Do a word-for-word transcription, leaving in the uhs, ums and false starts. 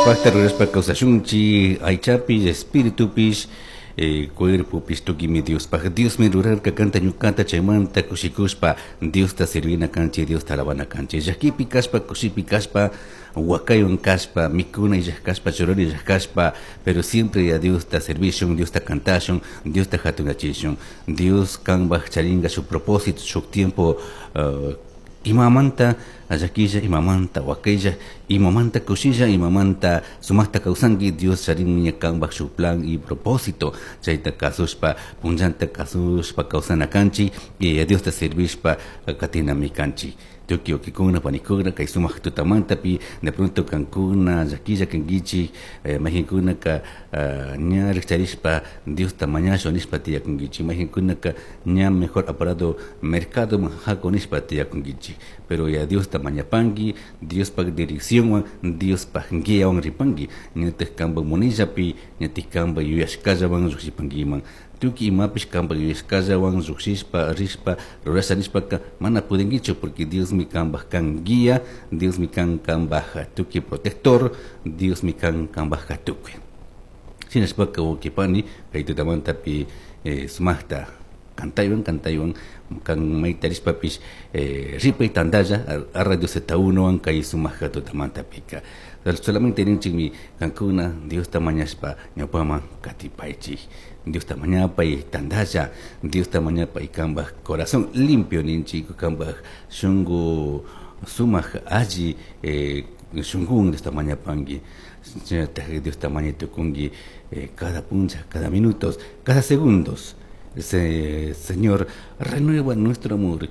Diospajta rurashpa kawsashunchik aychapish espiritupish eh, cuerpopish tukimi Diospaj Diosmi rurarka kanta ñukata chaymanta kushikushpa Diosta sirvina kanchik Diosta alabana kanchik llakipi kashpa kushipi kashpa wakaywan kashpa mikuna illaj kashpa churana illaj kashpa pero siempre a Diosta servishun Diosta kantashun Diosta hatunachishun Dios kanpaj charinka shuk propósito shuk tiempo uh, imamanta llakilla imamanta wakaylla imamanta kushilla imamanta sumaqta kawsanki Dios charinmi kanpaj shuk plan y propósito chayta kasushpa punllanta kasushpa kawsana kanchik y a Diosta servishpa katinami kanchik tukuy wawkikuna panikuna kay sumaq tutamantapi de pronto kankuna llakilla kankichik eh, mayqinkunaka uh, ña rikcharishpa Diosta mañashun nishpa tiyakunkichik mayqinkunaka ña mejor apurado mercadoman haku nishpa tiyakunkichik pero ya Diosta mañapanki Diospaj direcciónwan Diospaj guiawan ripanki ñataj kanpak munillapi ñatik kanpak yuyashkallawan llukshipankiman tukuy imapish kanpak yuyashkallawan llukshishpa rishpa rurasha nishpaka mana pudinkichu porque Diosmi kanpak kan guía Diosmi kan kanpak tukuy protector Diosmi kan kanpajka tukuy shinashpaka wawqipani kay tutamantapi eh, sumaqta kantaywan kantaywan kan mayta rishpapish eh, ripay tantalla a Radio Z uno kay sumaq tutamantapika solamente ninchikmi kankuna Diosta mañashpa ñawpaman katipaychik Diosta mañapay tantalla Diosta mañapay kanpaj corazón limpio ninchik kanpaj shunku sumaq alli eh, shunkuwan Diosta mañapanki shinallatak Diosta mañay tukunki eh, cada puncha cada minutos cada segundos. Señor, renueva nuestro amor.